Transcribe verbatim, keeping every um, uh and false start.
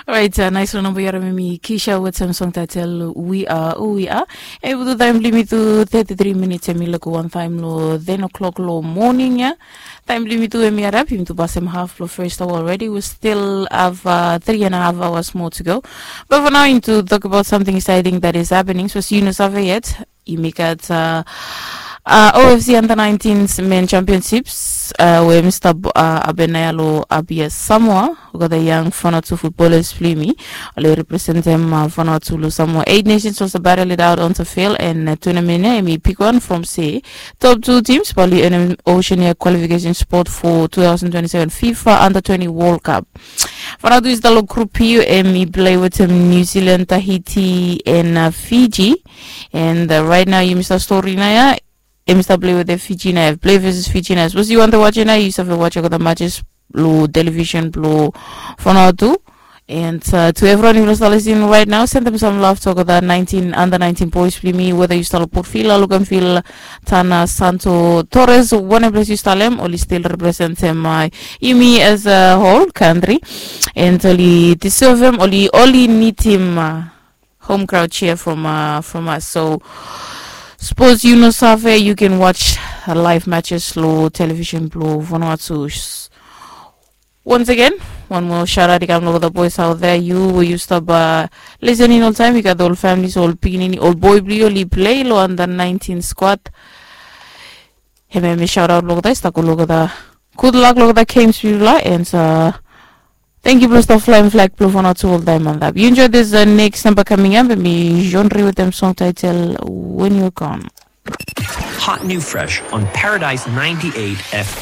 Orait, nais long namba yu harim em i Kisha wetem song taitel We Are Who We Are. Em i putum taem blong yumi tu thirty-three minits, em i luk wantaem long ten o'clock long moning ya. Taem blong yumi tu em i harap, yumi tu pasem haf blong first hour already. We still have uh, three and a half hours more to go. But for now, into talk about something exciting that is happening. So, si yu no save yet, yumi gat uh, uh, O F C under nineteen men championships uh, we hemi stap uh, hapen nao ya long Apia, Samoa. Olgeta yang Vanuatu footballers blong yumi oli representem uh, Vanuatu long Samoa Eight Nations was battle it out on the field, and uh, tournament ya hemi bigwan from se top two teams bae oli earnem Oceania qualification spot for two thousand twenty-seven FIFA under twenty World Cup. Vanuatu i stap long Group B, hemi play wetem New Zealand, Tahiti, and uh, Fiji. And uh, right now, yumi stap stori nao ya, hemi stap play wetem Fiji nao ya, play versus Fiji nao ya. Sapos yu wantem wajem nao ya, yu save wajem olgeta matches long television blong Vanuatu. And uh, to evriwan yufala stap lisin right now, sendem sam love to olgeta nineteen, under nineteen boys blong yumi, weda yu stap long Port Vila, Luganville, Tanna, Santo Touré, wanem ples yu stap long hem, oli still representem uh, yumi as a whole country. And oli deservem, oli oli nidim uh, home crowd cheer from uh, from us. So sapos yu no save, yu can watch uh, live matches long television blong Vanuatu. Once again, wan moa shout out i kam long olgeta boys out there, yu we yu stap uh, lisin oltaem. Yu gat ol families, ol pikinini, ol boy blong yu oli play long under nineteen squad. Hemia mi shout out long olgeta i stap go long olgeta. Good luck long olgeta games blong yufala, and uh, thank you blong stap flaem flag blong Vanuatu oltaem antap. You enjoy this uh, next number coming up, and mi genre wetem song title When You're Gone. Hot new fresh on Paradise ninety-eight F M.